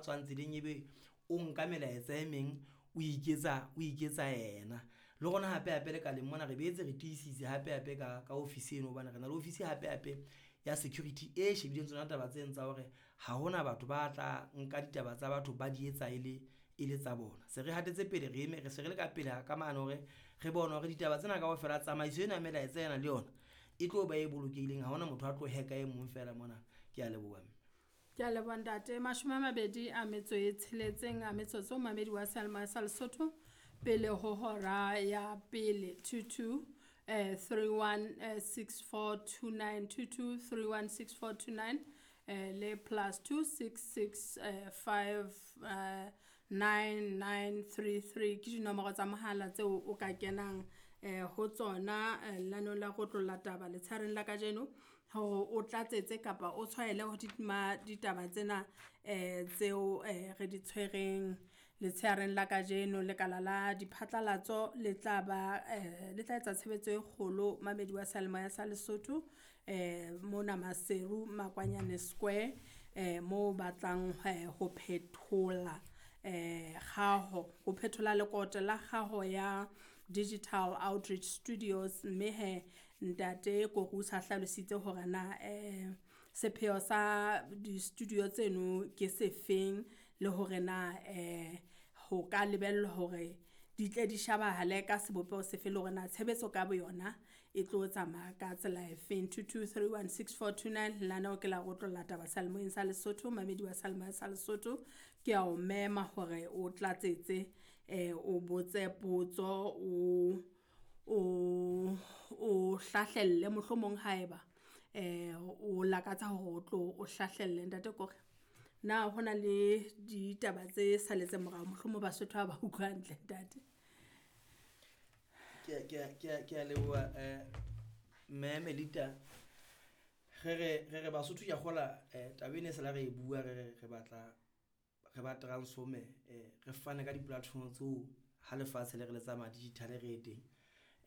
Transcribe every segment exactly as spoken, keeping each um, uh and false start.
tswang tseleng ebe o nka melaetsa e meng o iketsa o iketsa yena. Le rona hape hape lekaleng mona re boetse re tiisitse hape hape ka ka ofisi eno hobane re na le ofisi hape hape ya security e shebileng tsona taba tseno tsa hore ha hona batho ba tla nka ditaba tsa batho ba di etsa e le e le tsa bona. Se re hatetse pele, re eme re se re le ka pele ka mane hore re bone hore ditaba tsena kaofela tsamaiso ena ya melaetsa ena le yona e tlo ba e bolokehileng. Ha hona motho a tlo hack-a e mong fela mona. Ke a leboha mme. Ke a leboha ntate. Mashome a mabedi a metso e tsheletseng a metsotso mamedi wa seyalemoya sa Lesotho pele ho hora ya pele two two eh three one eh, six four two nine two two three one six four two nine eh le plus two six six eh, five eh, nine nine three three ke dinomoro tsa mohala tseo o ka kenang eh ho tsona eh, lenaneo la go tlolla taba letshareng la kajeno hore o tlatsetse kapa o tshwaele ho ma ditaba tsena eh tseo eh re di tshwereng letsheareng la kajeno. Lekala la diphatlalatso le tla ba eh le tla etsa tshebetso e kgolo mamedi wa seyalemoya sa Lesotho eh mona Maseru Makwanyane Square eh moo batlang eh, ho phethola eh kgaho ho phethola lekote la kgaho ya Digital Outreach Studios mme he ntate Kore o sa hlalositse hore na eh sepheo sa di-studio tseno ke sefeng le hore na eh ho ka lebellwa hore di tle di shebahale ka sebopeho sefe le hore na tshebetso ka boyona e tlo tsamaya ka tsela efeng. two two three one six four two nine lenaneo ke la go tlolla taba seyalemoyeng sa Lesotho mamedi wa seyalemoya sa Lesotho ke a o mema hore o tlatsetse eh o botse potso o o o hlahlelle mohlomong haeba eh o lakatsa hore o tlo o hlahlelle ntate Kore. Na hona le ditaba tse saletseng morao mohlomong Basotho ha ba utlwa hantle ntate? Ke a, ke a, ke a, ke a leboha eh mme Melita. Re re re re Basotho ke a kgola eh taba ena e sala re e bua re re re batla re ba transform-e eh re fane ka di-platform tseo ha lefatshe le re le tsamaya digital re e teng.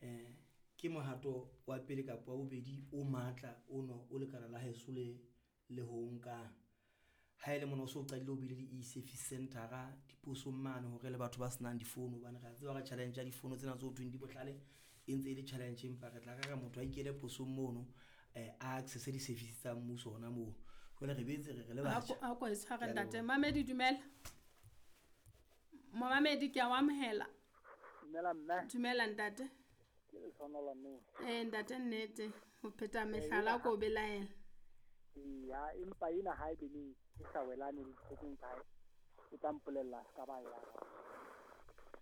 Eh ke mohato wa pele kapa wa bobedi o matla ono o lekala la heso le le ho nkang. Ha ele mona o so qadile o bile le e-service center-a diposong mane hore le batho ba senang difounu hobane re a tseba hore challenge ya difounu tsena tse ho thweng di bohlale e ntse e le challenge, empa re tla re re motho a ikele posong mono eh a access di-service tsa mmuso hona moo. Jwale re boetse re re le batjha. A ko e tshware Ke a ntate. leboha. Mamedi dumela. Momamedi ke a o amohela. Dumela mme. Dumela ntate. Ke Lehlohonolo mme. Eh ntate nnete ho pheta mehlala ko belaela. Ya empa ena ha e be e sa welane le dithekong tsa hae, o tla mpolella se ka ba ya.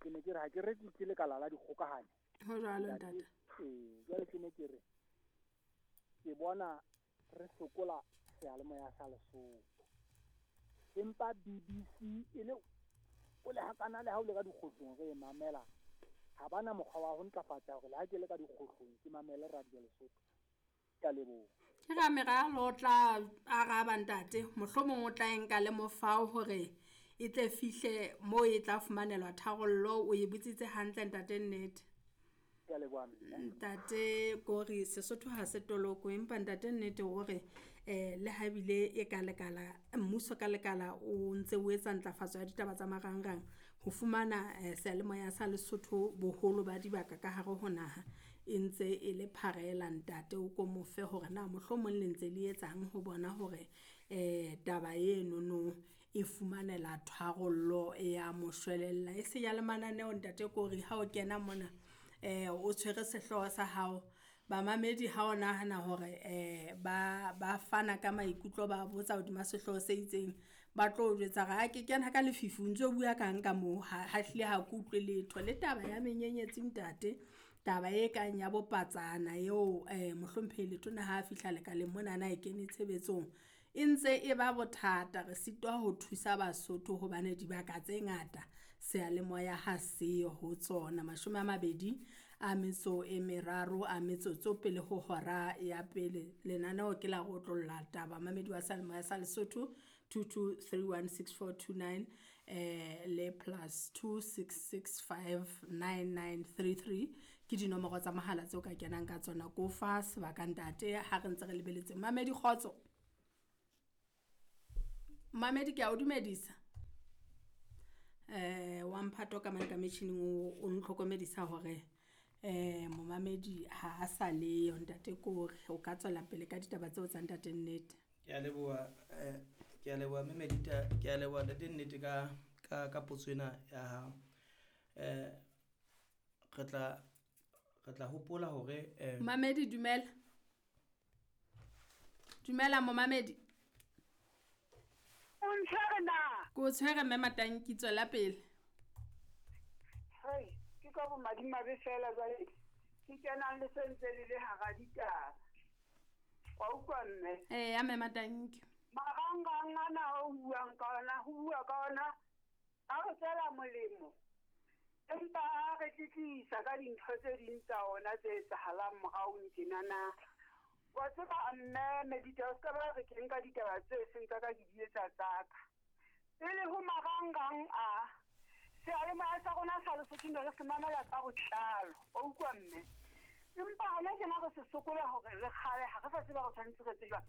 Ke ne ke re ha ke re ke lekala la dikgokahanyo. Ho jwalo ntate. Ee, jwale ke ne ke re ke bona re sokola seyalemoya sa Lesotho. Empa B B C e le o le hakana le ha o le ka dikgohlong re e mamela. Ha bana mokgwa wa ho ntlafatsa hore le ha ke le ka dikgohlong ke mamele radio Lesotho. Ke a leboha. Ke ra meralo o tla araba ntate, mohlomong o tla e nka le mofao hore e tle fihle moo e tla fumanelwa tharollo. O e botsitse hantle ntate nnete. Ke a leboha mme. Ntate Kore Sesotho ha se toloko empa ntate nnete hore eh le ha ebile e ka lekala mmuso ka lekala o ntse o etsa ntlafatso ya ditaba tsa marangrang ho fumana eh, seyalemoya sa Lesotho boholo ba dibaka ka hare ho naha e ntse e le pharela ntate o ko mofe hore na mohlomong le ntse le etsang ho bona hore eh taba eno no e fumanela tharollo ya moshwelella e se ya le mananeo ntate Kore ha o kena mona eh o tshwere sehlooho sa hao bamamedi ha o nahana hore eh ba ba fana ka maikutlo ba botsa hodima sehlooho se itseng ba tlo o jwetsa hore ha ke kena ka lefifi o ntso bua kang ka moo ha ha hlile ha ke utlwe letho le taba ya menyenyetsi ntate taba e kang ya bopatsana eo eh mohlomphehi Letona ha a fihla lekaleng monana e kene tshebetsong e ntse e ba bothata re sitwa ho thusa Basotho hobane dibaka tse ngata seyalemoya ha seyo ho tsona. Mashome a mabedi a metso e meraro a metsotso pele ho hora ya pele lenaneo ke la go tlolla taba mamedi wa seyalemoya sa Lesotho two two three one six four two nine eh le plus two six six five nine nine three three ke dinomoro tsa mohala tseo ka kenang ka tsona ko fa sebaka ntate ha re ntse re lebeletse. Mamedi kgotso. Mamedi ke a o dumedisa. Eh wa mphato ka mane ka metjhining o o ntlhokomedisa hore eh momamedi ha a sa leyo ntate Kore. O ka tswela pele ka ditaba tseo tsa ntate Nnete. Ke a leboha eh ke a leboha mme Medita, ke a leboha ntate Nnete ka ka ka potso ena ya hao. Eh re tla re tla hopola hore eh Momamedi dumela. Dumela momamedi. O ntshwere na? Ke o tshwere mme Matanki, tswela pele. Hei, ke ka bomadimabe fela jwale ke kenang le sentse le le hara ditaba. Wa utlwa mme? Eya mme Matanki. Marangrang ana o buang ka ona, ho bua ka ona, a re tswela molemo. Empa a re tletlisa ka dintho tse ding tsa ona tse etsahalang morao tjenana. Wa tseba mme Medita, o ska ba re ke nka ditaba tse seng tsa ka ke di etsa tsa ka. Pele ho marangrang a, seyalemoya sa rona sa Lesotho ne re se mamela ka botlalo. Wa utlwa mme? Empa hona tjena re se sokola hore re kgale, ha re sa tseba re tshwanetse re etse jwang.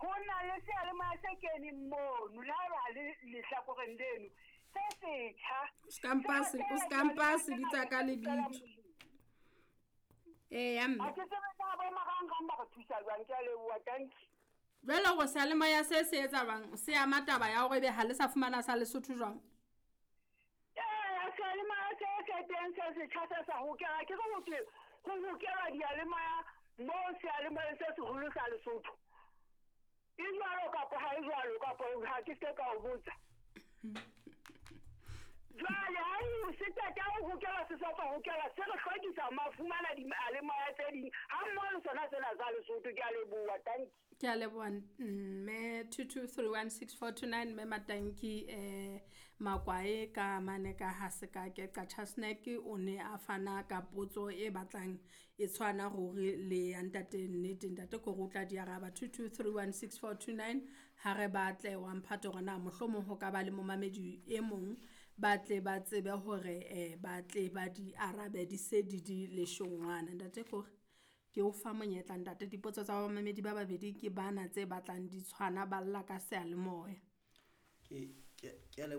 Ho na le seyalemoya se keneng mono, le haeba ha le lehlakoreng leno, se setjha. O ska mpa se, o ska mpa se bitsa ka lebitso. Eya mme. Ha ke tsebe na bo marangrang ba re thusa jwang, ke a leboha, thank you. Jwale hore seyalemoya se se etsa jwang, se ama taba ya hore ebe ha le sa fumana sa Lesotho jwang? Eya, seyalemoya se se teng se setjha se sa hokela, ke re ho thwe ho hokela diyalemoya moo seyalemoyeng se seholo sa Lesotho. E jwalo kapa ha e jwalo, kapa ha ke se ka o botsa. Jwale ha e se qeta ho hokela, se sa tswa hokela, se re hlwekisa ma fumana diyalemoya tse ding ha mmoho le sona sena sa Lesotho. Ke a leboha, thank you. Ke a leboha mme two two three one six four two nine mme Matanki eh Makwae ka mane ka ha se ka ke Qacha Snack o ne a fana ka potso e batlang e tshwana ruri le ya ntate Nnete. Ntate Kore o tla di araba. Two two three one six four two nine ha re batle wa mphato hore na mohlomong ho ka ba le momamedi e mong ba tle ba tsebe hore eh ba tle ba di arabe di se di di leshongwana. Ntate Kore ke o fa monyetla ntate, dipotso tsa bamamedi ba babedi ke bana tse batlang di tshwana, ba lla ka seyalemoya. Ke ke ke a leboha.